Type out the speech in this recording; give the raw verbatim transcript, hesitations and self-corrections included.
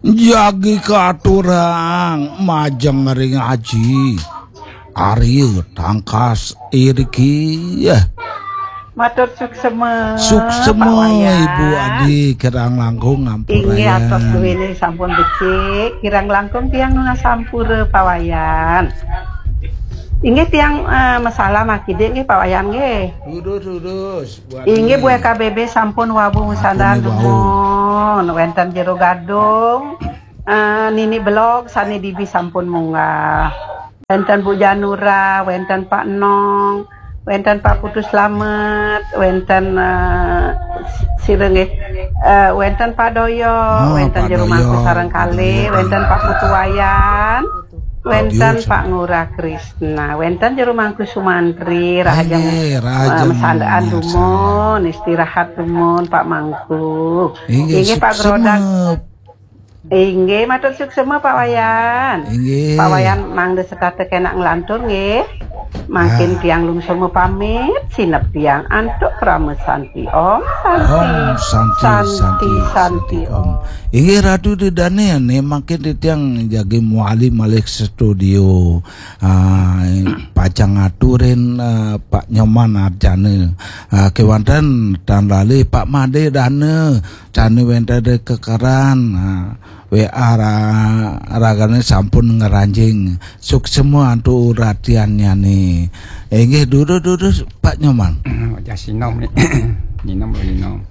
Jagi katurang majeng ring Aji Arya Tangkas iriki. Yah. Matur suksema, suksema, Pak Wayan. Ibu Adi, kirang langkung ngampurayan. Inggih, atos duwene sampun becik, kirang langkung tiang nunas sampura, Pak Wayan. Inggih, tiang, eh, masalah makidik nggih, Pak Wayan nggih. Durus, durus. Inggih, Bu K B B sampun wau masandaran dumun. Wenten Jero Gadung, eh, Nini Belog sane dibi sampun munggah. Wenten Bu Janura, wenten Pak Nong, wenten Pak Putu Slamet, wenten, eh, sira nggih, eh, wenten Pak Doyo, ah, wenten Pak Jero Doyo, Mangku sareng Pak kalih, Doyo, wenten Pak Putu Wayan, wenten Pak Ngurah Krisna, wenten Jero Mangku Sumantri, rahajeng, eh, masandaan dumun, istirahat dumun, Pak Mangku. Inggih, Pak Grodak. Inggih, matur suksema, Pak Wayan. Inggih. Pak Wayan mangda setata kenak nglantur, nggih. Mangkin tiang lungsur pamit, sineb tiang antuk krama santi. Om Santi. Om Santi, Santi, Santi, Santi, Om. Inggih, Ratu Dedane, ne mangkin titiang jagi muali malih studio. Ah, pacang ngaturin, ah, Pak Nyoman Arjana. Ah, kewanten tan lali Pak Made Dana, jani wenten kekeran. Ah, W A ra-, ragane sampun ngranjing. Suksema antuk uratiannyane. Inggih, durus-durus, Pak Nyoman. Wajah sinom ni. Nyinom, nyinom.